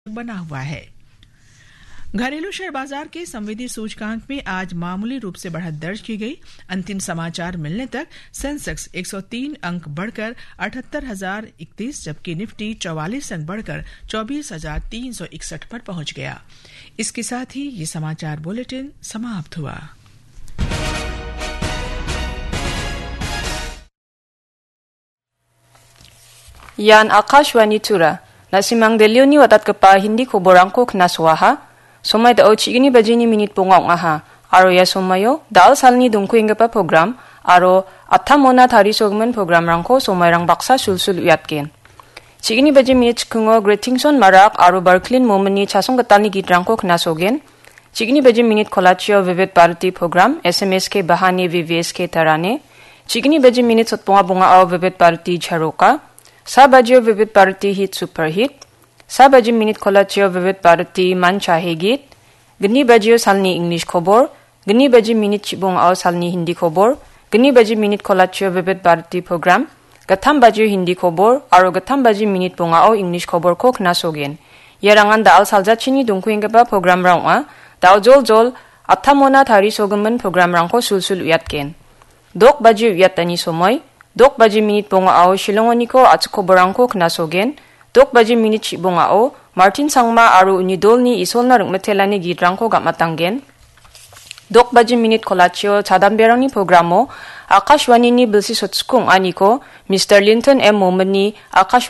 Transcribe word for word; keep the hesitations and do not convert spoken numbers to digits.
बना हुआ है। घरेलू शेयर बाजार के संवेदी सूचकांक में आज मामूली रूप से बढ़त दर्ज की गई। अंतिम समाचार मिलने तक सेंसेक्स एक सौ तीन अंक बढ़कर अठहत्तर हजार इकतीस, जबकि निफ्टी चौवालीस अंक बढ़कर चौबीस हजार तीन सौ इकसठ पर पहुंच गया। इसके साथ ही ये समाचार बुलेटिन समाप्त हुआ। Ian Akashvani Tura. Na·simang Delhioni watatgipa Hindi koborangko knasoaha. Somai dao chigini bajini minit bonga ong·aha. Aro ia somaio dal salni dongkuenggipa program aro atamona tarisogimin programrangko somairang baksa sulsul uiatgen. Chigini baji minit chikingo Gretingson Marak aro Barklin Momini chasong gitalni gitrangko knasogen. Chigini baji minit kolachio Vivid Bharati program, S M S K Bahani V V S K Tarane. Chigini baji minit sotbonga bongao Vivid Bharati Charoka. Sa bajio Vivid Bharati Hit Super Hit. Sa baji minit kolachio Vivid Bharati Man Chahe Git. Gni bajio salni English kobor. Gni baji minit chibongao salni Hindi kobor. Gni baji minit kolachio Vivid Bharati program. Gatam bajio Hindi kobor. Aro gatam baji minit bongao English koborko knasogen. Iarangan dal saljachini dongkuenggipa programrang ong·a. Dal jol jol, atamona tarisogimin programrangko sulsul uiatgen. Dok baji uiatani somoi, dok baji minit bongao Shillongoniko a·chik koborangko knasogen. Dok baji minit chibongao Martin Sangma aro uni dolni Isolna ring·mitelani gitrangko gam·atanggen. Dok baji minit kolachio chadamberangni programo Akashvanini bilsi sotskung aniko Mister Linton M Momini Akashvani